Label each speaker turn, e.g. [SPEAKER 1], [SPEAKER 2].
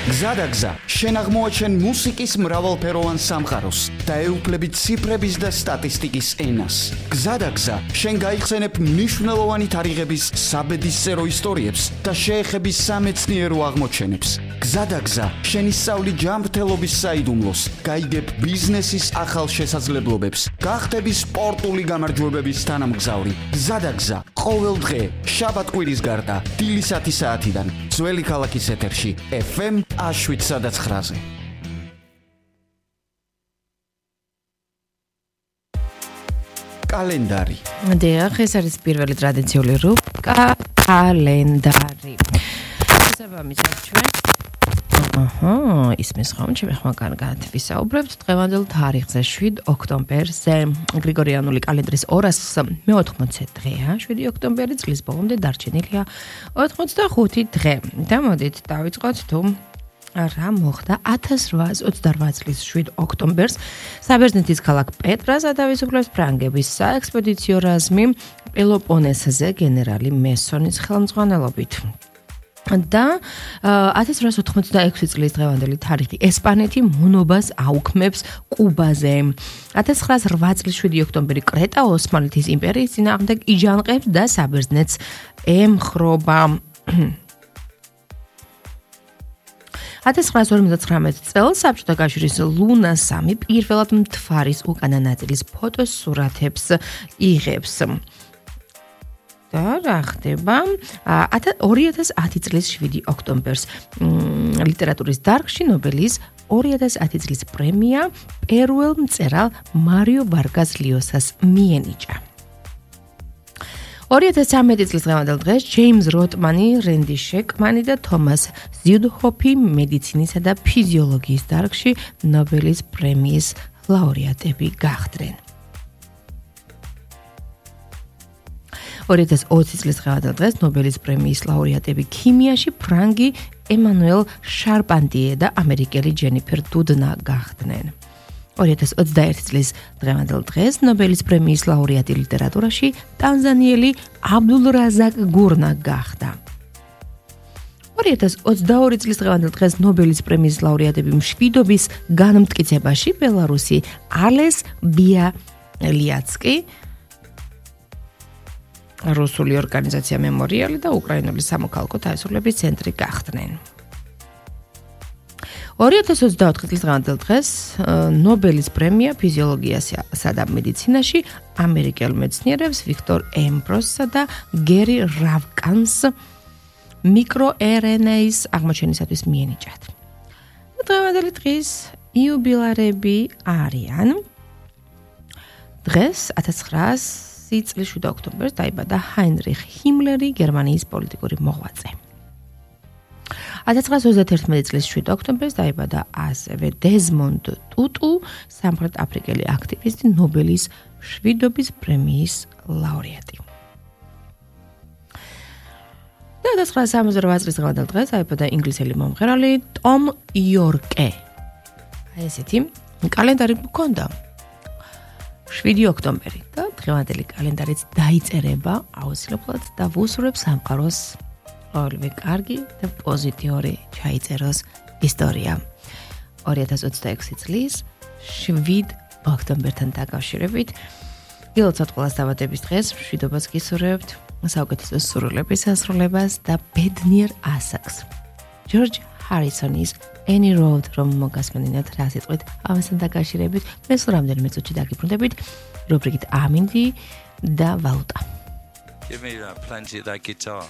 [SPEAKER 1] გზადაგზა, შენ აღმოაჩენ მუსიკის მრავალფეროვან სამყაროს და ეუფლები ციფრების და სტატისტიკის ენას. გზადაგზა, შენ გაიხსენებ მნიშვნელოვანი თარიღების საბედისწერო ისტორიებს და შეეხები სამეცნიერო აღმოჩენებს. გზადაგზა, შენ ისწავლი ჯანმრთელობის საიდუმლოს, გაიგებ ბიზნესის ახალ შესაძლებლობებს, გახდები სპორტული გამარჯვებების თანამგზავრი. გზადაგზა, ყოველ დღე, შაბათ-კვირის გარდა, დილის 10 საათიდან, ძველი ქალაქის ეთერში, FM 7-9-ზე. კალენდარი.
[SPEAKER 2] დიახ, ეს არის პირველი ტრადიციული რუბრიკა კალენდარი. შესაბამისად ჩვენ ისმის ხომ ჩემი ხმა კარგად ვისაუბრებთ დღევანდელ თარიღზე 7 ოქტომბერზე გრიგორიანული კალენდრის 214 დღეა 7 ოქტომბერი წლის ბოლომდე დარჩენილია 85 დღე და მოდით დავიწყოთ თუ რა მოხდა 1828 წლის 7 ოქტომბერს საბერძნეთის ქალაქ პეტრას ათავისუფლებს ფრანგების საექსპედიციო რაზმი პელოპონესზე გენერალი მესონის ხელმძღვანელობით. და 1886 წლის დღევანდელი თარიღი ესპანეთი მონობას აუქმებს კუბაზე. 1908 წლის 7 ოქტომბერი კრეტა ოსმალეთის იმპერიის წინააღმდეგ იჯანყებს და საბერძნეთს ემხრობა. 1959 წელს საბჭოთა კავშირის ლუნა 3 პირველად მთვარის უკანა ნაწილის ფოტოს სურათებს იღებს. და რა ხდება 2010 წლის 7 ოქტომბერს ლიტერატურის დარგში ნობელის 2010 წლის პრემია პერუელ მწერალ მარიო ვარგას ლიოსას მიენიჭა. 2013 წლის დღევანდელ დღეს ჯეიმზ როტმანი, რენდი შეკმანი და თომას ზიუდჰოფი მედიცინისა და ფიზიოლოგიის დარგში ნობელის პრემიის ლაურეატები გახდნენ. 2020 წლის დღევანდელ დღეს ნობელის პრემიის ლაურეატები ქიმიაში ფრანგი ემანუელ შარპანტიე და ამერიკელი ჯენიფერ დუდნა გახდნენ. 2021 წლის დღევანდელ დღეს ნობელის პრემიის ლაურეატი ლიტერატურაში ტანზანიელი აბდულრაზაკ გურნა გახდა. 2022 წლის დღევანდელ დღეს ნობელის პრემიის ლაურეატები მშვიდობის განმტკიცებაში ბელარუსი ალეს ბიალიაცკი რუსული ორგანიზაცია მემორიალი და უკრაინული სამოქალაქო თავისუფლების ცენტრი გახდნენ. 2024 წლის დღევანდელ დღეს ნობელის პრემია ფიზიოლოგიასა და მედიცინაში ამერიკელ მეცნიერებს ვიქტორ ემბროსსა და გერი რავკანს მიკროRNA-ის აღმოჩენისათვის მიენიჭათ. დღევანდელი დღის იუბილარები არიან დღეს 1900 წლის 7 ოქტომბერს დაიბადა ჰაინრიხ ჰიმლერი, გერმანიის პოლიტიკური მოღვაწე. 1931 წლის 7 ოქტომბერს დაიბადა ასევე დეზმონდ ტუტუ, სამხრეთ აფრიკელი აქტივისტი, ნობელის მშვიდობის პრემიის ლაურეატი. 1968 წლის დღევანდელ დღეს დაიბადა ინგლისელი მომღერალი ტომ იორკე. ესეთი კალენდარი მქონდა 7 ოქტომბერი და დღევანდელი კალენდარიც დაიწერება აუცილებლად და ვუსურვებ სამყაროს ყოველივე კარგი და პოზიტიური ჩაიწეროს ისტორია. 2026 წლის 7 ოქტომბერთან დაკავშირებით დილოცავთ ყველას დაბადების დღეს, მშვიდობას გისურვებთ, საუკეთესო სურვილების ასრულებას და ბედნიერ ასაკს. ჯორჯ ჰარისონის Any Road რომ მოგასმენინათ რა სიტყვით ამასთან დაკავშირებით მე სულ რამდენიმე წუთში დაგიბრუნდებით რუბრიკით ამინდი და ვალუტა.
[SPEAKER 3] Give me that plenty of that guitar.